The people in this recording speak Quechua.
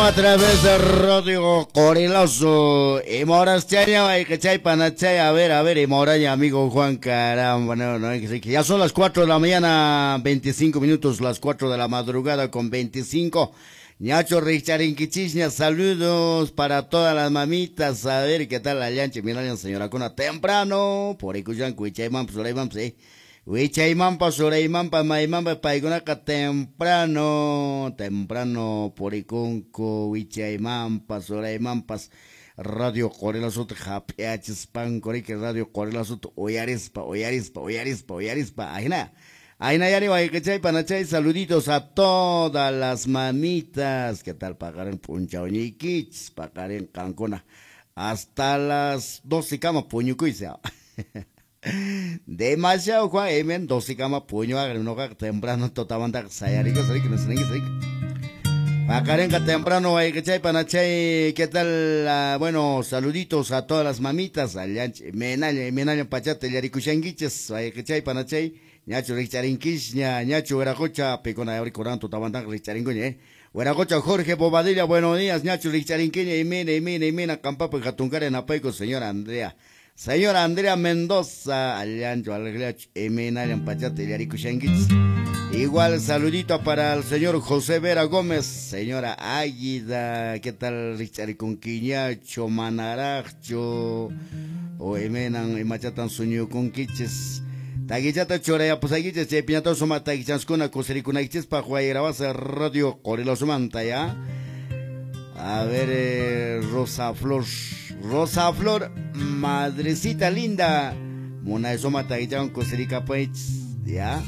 A través de Radio Corilazo. Y moras chay panachay. A ver, y moraña, amigo Juan, caramba. No, no, ya son las 4 de la mañana, 25 minutos, las 4 de la madrugada con 25. Ñacho Richarinquichisña, saludos para todas las mamitas. A ver qué tal la llanche. Mira, señora Cuna, temprano. Por ahí, Cuchayman, Surayman, sí. Wichaymampa, Suraymampa, Maymampa, paykunaqa temprano, temprano purikunku, Wichaymampa, Suraymampas, Radio Qorilasota hap'iachispanku, riki Radio Qorilasota uyarispa, uyarispa, uyarispa, uyarispa, ahina. Ahina yari wayqichay panachay, saluditos a todas las mamitas. ¿Qué tal paqarin p'unchawñiykichis? Paqarin qankuna hasta las 12 kama puñukuyse. Demasiado Juan, emen 12 kama puño noqa temprano totamantaqa sayarikus riki, riki. Paqarinqa temprano wayqichay panachay, ¿qué tal? Bueno, saluditos a todas las mamitas, allanch, menalla, menalla pachata llarikushankichis, wayqichay panachay, ñachu rikcharinkish, ña, ñachu wiraqucha, pikuna yawri kuran tutamantaqa rikcharinkuña, Wiraqucha Jorge Bobadilla, buenos días, ñachu rikcharinkiña, imina, imina, imina, qampapi hatunkara napayku, señora Andrea. Señora Andrea Mendoza, allancho, alegriacho, iminallan pachata llarikushankichis. Igual saludito para el señor José Vera Gómez, señora Águida, ¿qué tal rikcharikunkiñacho, manarajcho, o imenan imachatan suñukunkichis? Taguichata churayapusakichis, chay piñata suma taguichanskuna kusirikunaykichispaq Guayrabasa Radio Qorilosumanta, ya. A ver, Rosa Flor, Rosa Flor, madrecita linda, munay suma taguichan kusirikapaychis, ya.